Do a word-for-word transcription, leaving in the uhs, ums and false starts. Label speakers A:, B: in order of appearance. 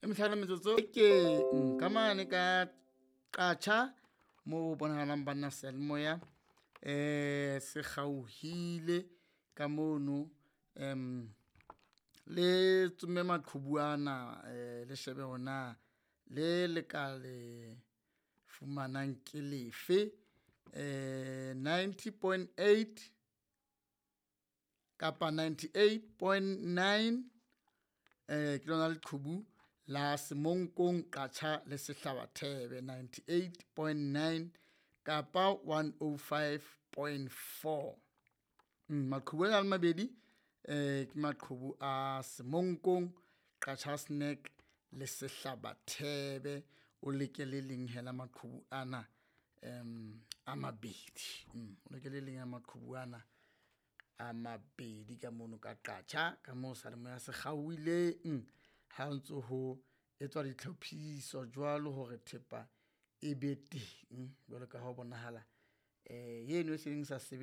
A: E mehlano metsotso ke ka mane ka Qacha mo bonahalang banna seyalemoya um se kgaohile ka mono. Um le tsomme maqhubu ana, um le shebe hore na le le ka le fumanang ke lefe. Um ninety point eight kapa ninety eight point nine eh ke lona leqhubu la Semonkong Qacha le Sehlabathebe ninety eight point nine kapa one oh five point four. Mm, maqhubu ana a mabedi eh ke maqhubu a Semonkong Qacha's Nek le Sehlabathebe. O leke le leng hela maqhubu ana um a mabedi. Mm, o leke le leng la maqhubu ana a mabedi ka mono ka Qacha ka moo seyalemoya se kgaohileng ha ntso ho etswa ditlhophiso jwalo hore thepa e be teng jwalo ka ha ho bonahala um eno e seng sa.